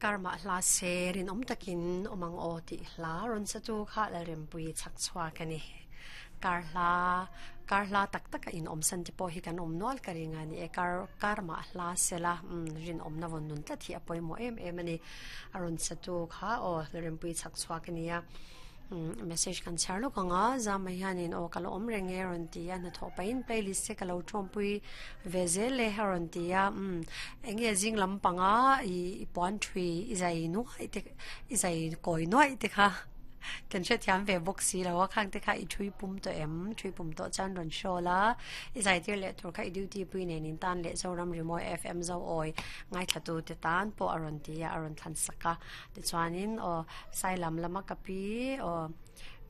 Karma hla se rinawm takin awm ang aw tih hla rawn sa tu kha Lalrempuii chhak chhuak a ni. Kar hla kar hla tak taka in awm san te pawh hi kan awm nual ka ring a ni e. Kar karma hla sela umm rinawmna vawn nun tlat hi a pawimawh em em a ni. A rawn sa tu kha aw Lalrempuii chhak chhuak a ni a. Message kan chhiar lawk ang a, Zama hianin aw ka lo awm reng e a rawn ti a, hnathawh pahin playlist te ka lo tawmpui ve zel e a rawn ti a, umm eng nge zing lampanga i puan thui i zai nuai te i zai kawi nuai te kha kan hrethiam ve bawk si lo a, khang te kha i thui pum tawh em? Thui pum tawh chuan rawn show la, i zai tir leh tur kha i duty pui nen in tan leh Zoram Rimawi FM Zoawi ngaithla tu te tan pawh a rawn ti a, a rawn thlan sak a. Tichuanin aw sai lam lama ka pi aw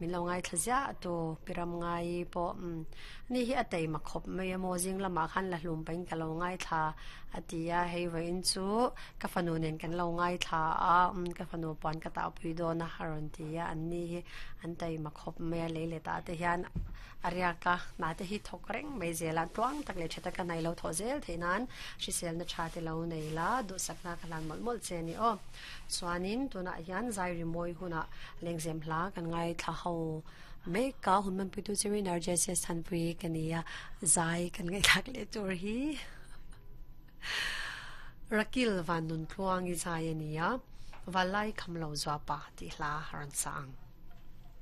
min lo ngaithla ziah tu pi ram ngai pawh umm ni hi a taima khawp mai a maw zing lamah khan la hlum pahin ka lo ngaithla a ti a hei vawiin chu ka fanu nen kan lo ngaithla a umm ka fanu puan ka tahpui dawn a a rawn ti a an ni hi an taima khawp mai a lei leh tah te hian A riak a, hna te hi thawk reng mai zel a, tluang tak leh tha taka hna i lo thawh zel theih nan hriselna tha te lo nei la, duhsakna ka hlan mawlh mawlh che a ni aw. Chuanin tunah hian zai rimawi hunah lengzem hla kan ngaithla ho mek a, hun hmanpuitu chu Winner JCS Thanpui ka ni a, zai kan ngaihthlak leh tur hi Rakil Van Nuntluangi zai a ni a, Valai Khamlo Zuapa tih hla a rawn sa ang.